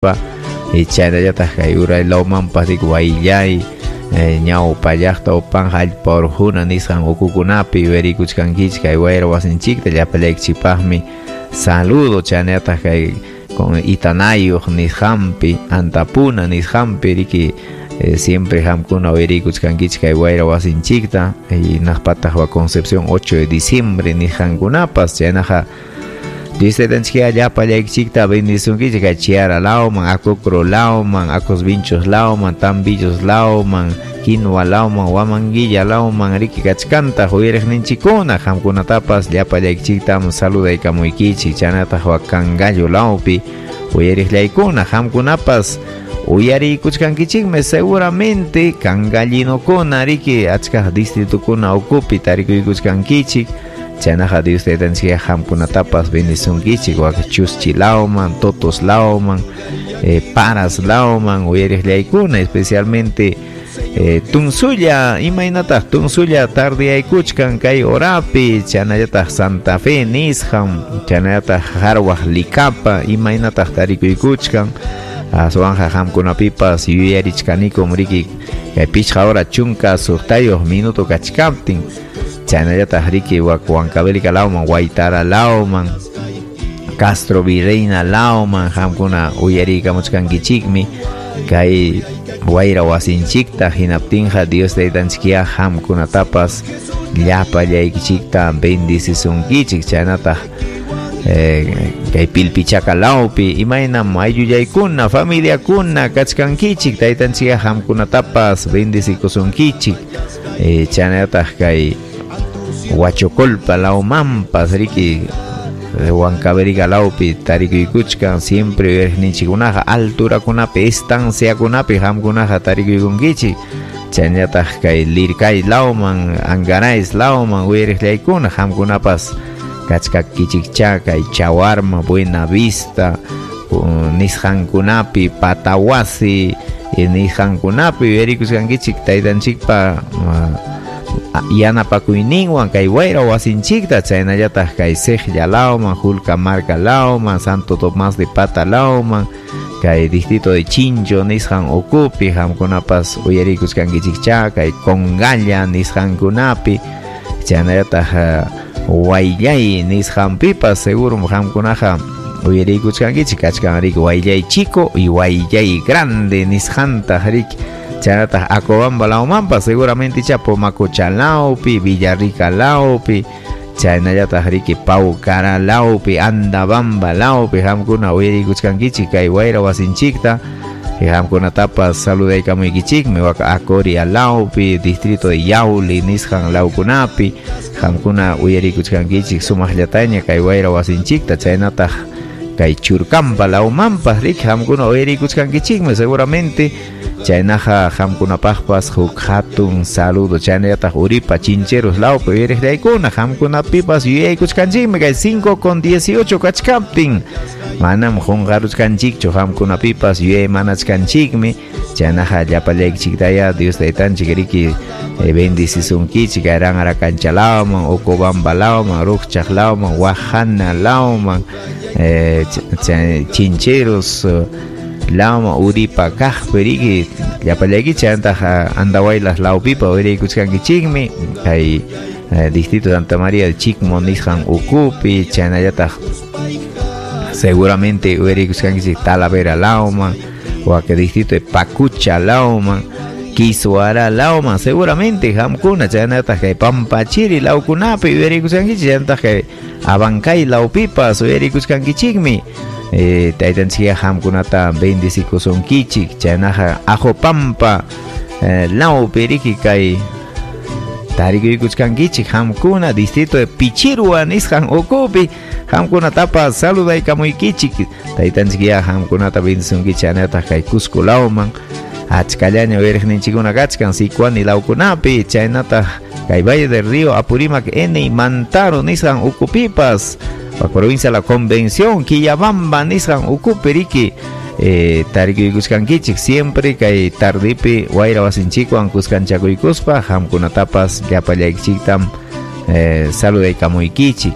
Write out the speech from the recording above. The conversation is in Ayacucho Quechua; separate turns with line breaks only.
Chaynallataq kay uray lawmanpas riki Wayllay, ñawpa llaqta Upanja allpa urquna nisqan ukukunapi uyarikuchkankichik kay wayra wasinchikta llapallaykichikpaqmi saludo. Chaynallataq kay Itanayuq nisqanpi, Antapuna nisqanpi riki siempre qamkuna uyarikuchkankichik kay wayra wasinchikta, hinaqpataq wa Concepción 8 de diciembre nisqankunapas. Chaynaqa Dios taytanchikqa llapallaykichikta bendisunkichik kay Chiara lawman, Acocro lawman, Acos Vinchos lawman, Tambillos lawman, Quinua lawman, Huamanguilla lawman riki kachkantaq uyariqninchikkuna, qamkunatapas llapallaykichiktam saludaykamuykichik. Chaynataq wa Cangallo lawpi uyariqllaykuna, qamkunapas uyariykuchkankichikmi seguramente cangallinokuna riki achka distritukuna ukupi tarikuykuchkankichik. Chaynaqa Dios taytanchikqa qamkunatapas bendisunkichik wak Chuschi lawman, Totos lawman, Paras lawman uyariqllaykuna, especialmente Tunsulla, imaynataq Tunsulla tardiyaykuchkan kay horapi, chaynallataq Santa Fe nisqan, chaynallataq Harwaq Licapa, imaynataq tarikuykuchkan. Aswanja qamkunapipas yuyarichkanikum riki kay 5 hora 16 minuto kachkaptin. Chaynallataq riki wak Huancavelica lawman, Huaytara lawman, Castro Virreina lawman qamkuna uyariykamuchkankichikmi kay wayra wasinchikta. Hinaptinqa Dios taytanchikqa qamkunatapas llapallaykichikta bendicisunkichik. Chaynataq kay Pilpichaca lawpi imaynam ayllullaykuna, familiakuna kachkankichik, taytanchikqa qamkunatapas bendicikusunkichik. Chaynataq kay Huachocolpa lawmanpas riki Huancavelica lawpi tarikuykuchkan siempre uyariqninchikkunaqa alturakunapi, estanciakunapi qamkunaqa tarikuykunkichik. Chaynallataq kay Lircay lawman, Angarais lawman uyariqllaykuna qamkunapas kachkakichikcha kay Chawarma, Buena Vista nisqankunapi, Patawasi nisqankunapi uyarikuchkankichik taytanchikpa yanapakuyninwan kay wayra wasinchikta. Chaynallataq kay Sejlla lawman, Julcamarca lawman, Santo Tomás de Pata lawman, kay distrito de Chincho nisqan ukupi qamkunapas uyarikuchkankichikcha kay Congalla nisqankunapi, chaynallataq Wayllay nisqanpipas segurum qamkunaqa uyarikuchkankichik. Kachkan riki Wayllay chico y Wayllay grande nisqantaq riki. Chaynataq Acobamba lawmanpas seguramente Pomacocha lawpi, Villarrica lawpi, chaynallataq riki Paucara lawpi, Andabamba lawpi qamkuna uyarikuchkankichik kay wayra wasinchikta. Qamkunatapas saludaykamuykichikmi wak Acoria lawpi, distrito de Yauli nisqan lawkunapi qamkuna uyarikuchkankichik sumaqllataña kay wayra wasinchikta. Chaynataq kay Churcampa lawmanpas riki qamkuna uyarikuchkankichikmi seguramente. Chaynaqa qamkunapaqpas huk hatun saludo. Chaynallataq Uripa Chincheros lawpi uyariqllaykuna qamkunapipas yuyaykuchkanchikmi kay 5:18 kachkaptin. Manam qunqaruchkanchikchu qamkunapipas yuyaymanachkanchikmi. Chaynaqa llapallaykichiktaya Dios taytanchik riki bendicisunkichik Aranara cancha lawman, Ocobamba lawman, Rukchaq lawman, Huajana lawman, Chincheros lawman, Uripa kaqpi riki llapallaykichik. Chaynataq Andahuaylas lawpipa uyarikuchkankichikmi kay distrito de Santa María de Chicmo nisqan ukupi. Chaynallataq seguramente uyarikuchkankichik Talavera lawman, wak distrito de Pacucha lawman, Quisuara lawman seguramente qamkuna. Chaynataq kay Pampachiri lawkunapi uyarikuchkankichik. Chaynataq kay Abancay lawpipas uyarikuchkankichikmi. Taytanchikqa qamkunata bendicikusunkichik. Chaynaqa Ajopampa lawpi riki kay tarikuykuchkankichik qamkuna distrito de Pichirua nisqan ukupi qamkunatapas saludaykamuykichik. Taytanchikqa qamkunata bendisunkichik. Chaynataq kay Cusco lawman achkallaña uyariqninchikkuna kachkan Sicuani lawkunapi. Chaynataq kay Valle del Río Apurímac N Mantaro nisqan ukupipas, provincia La Convención, Quillabamba nisqan ukupi riki tarikuykuchkankichik siempre kay tardipi wayra wasinchikwan kuskanchakuykuspa qamkunatapas llapallaykichiktam saludaykamuykichik.